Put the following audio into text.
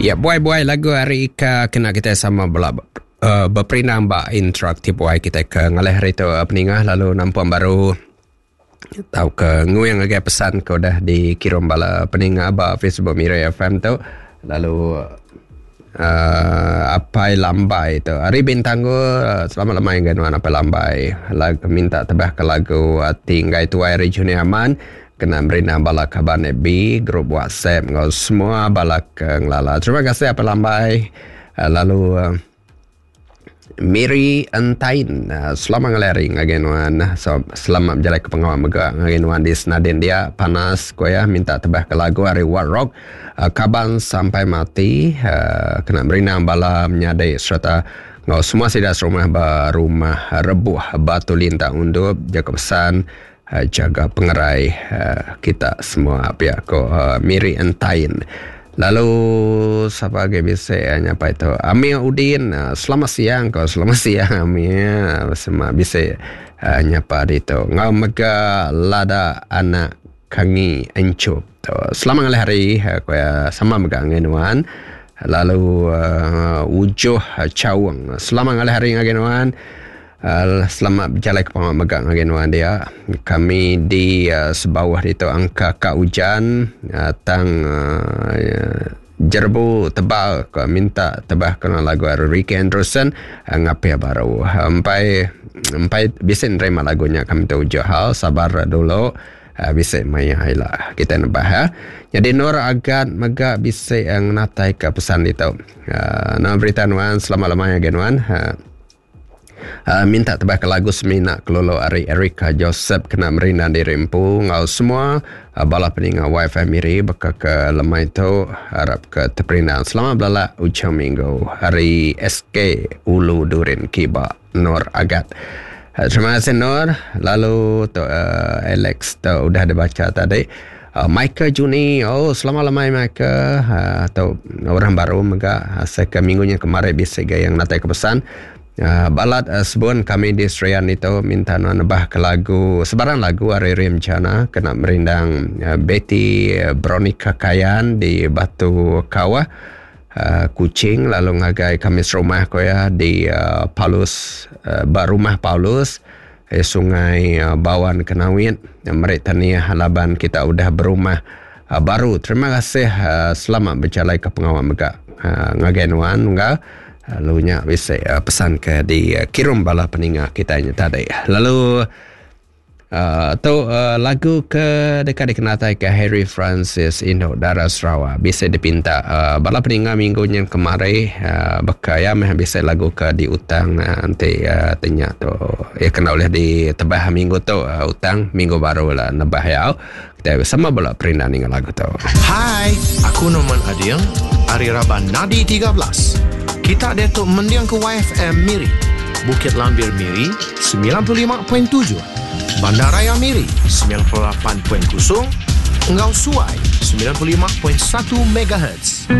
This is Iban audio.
Ya buai-buai lagu ari Ika kena kitai sama bela uh, beperindang ba interaktif buai kitai ke ngalih hari tu uh, peningah lalu nampung baru tauka nguing ngagai pesan ke udah dikirum bala peninga ba Facebook Miri FM tu lalu uh, Apai Lambai tu ari Bintangor uh, selamat lemai ngagai nuan Apai Lambai lagu minta tebah ke lagu Ati Enggai Tuai ari Junior Aman kena merindang bala kaban FB grup WhatsApp enggau semua bala ke ngelala terima kasih Apai Lambai uh, lalu uh, Miri Entain selamat ngalih hari ngagai nuan so selamat bejalai ke pengawa mega ngagai nuan di Senadin dia panas ko iya minta tebah ke lagu ari Wat Rock kaban sampai mati kena merindang bala menyadi sereta enggau semua sida serumah ba rumah Rebuh Batu Lintang Undup jaku pesan Jaga pengerai kita semua pia ko Miri Entain. Lalu sapa agi bisi nyapai tu Amir Udin selamat siang ko selamat siang Amir sema bisi nyapa ditu enggau mega Lada anak Kangi Enchup tu. Selamat ngalih hari ko iya sama mega ngagai nuan. Lalu Ujoh Chaung selamat ngalih hari ngagai nuan. Selamat bejalai ke pengawa mega ngagai nuan dia. Kami di Sebauh ditu angka ka ujan tang jerebu tebal ka minta tebah kena lagu ari Ricky Andrewson ngapih baru. Empai empai bisi nerima lagu nya kami tu ujuk hal sabar dulu bisi maya ila kitai nebah ya. Nyadi Nur Agat mega bisi ngenatai ka pesan ditu. Nama berita nuan selamat lemai ngagai nuan. Minta tebaka lagu semina kelulu ari Erica Joseph kena merindang diri empu enggau semua bala peninga WiFi Miri baka ke lemai tu arap ke teperindang. Selamat belala ujung minggu ari SK Ulu Durin Kiba Nur Agat. Terima kasih Nur. Lalu tu Alex tu udah dibacha tadi. Michael Juni, oh selamat lemai Michael. Tu orang baru mega asai ke minggu nya kemari bisi ga yang natai ke pesan. Balat sebun kami di Serian ditu minta nuan nebah ke lagu sebarang lagu ari Rim Jana kena merindang Betty Bronica Kayan di Batu Kawah Kuching lalu ngagai kami serumah ko iya di Paulus ba rumah Paulus. Sungai Bawan Kenawit meri tahniah laban kita udah berumah baru. Terima kasih selamat bejalai ke pengawa mega ngagai nuan unggal. Lalu nya bisi pesan ke dikirum bala peninga kitai nya tadi. Lalu Tu lagu ke deka dikenataika Harry Francis Indu Dara Sarawak bisi dipinta bala peninga minggu nyin kemari baka iya meh bisi lagu ke diutang enti ti nya tu iya kena ulih ditebah minggu tu utang minggu baru la nebah iya. Kitai sama bela perindang ninga lagu tu. Hai, aku Norman Ading ari raban Nadi 13. Kita diatu mendingka YFM Miri, Bukit Lambir Miri 95.7, Bandaraya Miri 98.0 enggau Suai 95.1 megahertz.